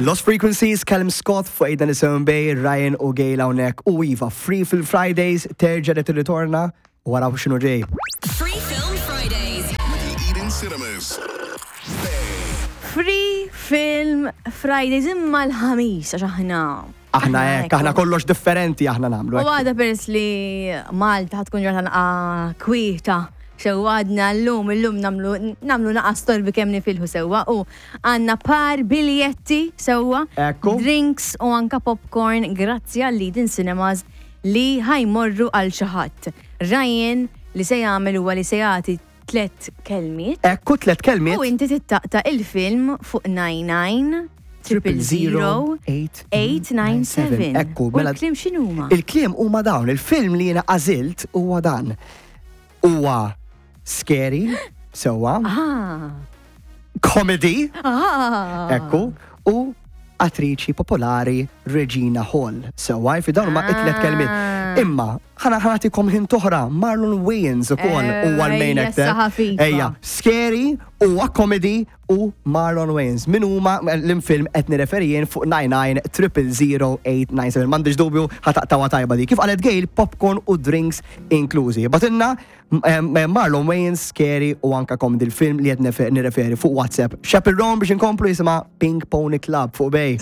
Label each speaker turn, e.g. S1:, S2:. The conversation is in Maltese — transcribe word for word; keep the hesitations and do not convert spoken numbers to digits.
S1: Lost Frequencies, Callum Scott fuq eight ninety-seven Bay, Ryan u Gail hawnhekk u iva, Free Film Fridays terġa' qed tirritorna u waraw x'inhu ġej.
S2: Free Film Fridays.
S3: With Eden Cinemas.
S4: Free Film Fridays imma l-Ħamis, għax aħna.
S1: Aħna hekk, aħna kollox differenti aħna nagħmlu.
S4: U
S1: hekk.
S4: għada, peress li Malta ħa tkun ġurnata naqa kwieta, sewwa, għadna l-lum, l-lum nagħmlu, nagħmlu naqa storbi kemm nifilħu, sewwa, u għandna par biljetti, sewwa,
S1: Ekku.
S4: drinks u anka popcorn grazzi għal Eden Cinemas li ħa jmorru għal xi ħadd. Ryan li se jagħmel huwa li se jagħti tlet kelmiet.
S1: Ekku, tlet kelmiet.
S4: U inti taqta' il-film fuq nine nine triple zero eight nine seven.
S1: Ekku,
S4: U
S1: mela-
S4: l-kliem x'inhuma?
S1: Il-kliem huma dawn, il-film li jiena għażilt huwa dan. Huwa scary, sewwa,
S4: Ah.
S1: comedy,
S4: Ah.
S1: ekku, u attriċi popolari Regina Hall. Sewwa, fi dawn huma it-tlet kelmiet.
S4: Ah.
S1: Imma, ħa ħa nagħtikom hint oħra, Marlon Wayans ukoll huwa l-main
S4: Ejja,
S1: actor.
S4: issa ħafifa.
S1: Ejja, scary, huwa comedy u Marlon Wayans. Min huma l-film qed nirreferi jien fuq nine nine triple zero eight nine seven. M'għandix dubju ħa taqtgħuha tajba di. Kif qalet Gail, popcorn u drinks inklużi. Ibgħatilna Marlon Wayans, scary u anka comedy, l-film li qed nirreferi fuq WhatsApp. Chappell Roan biex inkomplu, jisimha Pink Pony Club fuq Bay.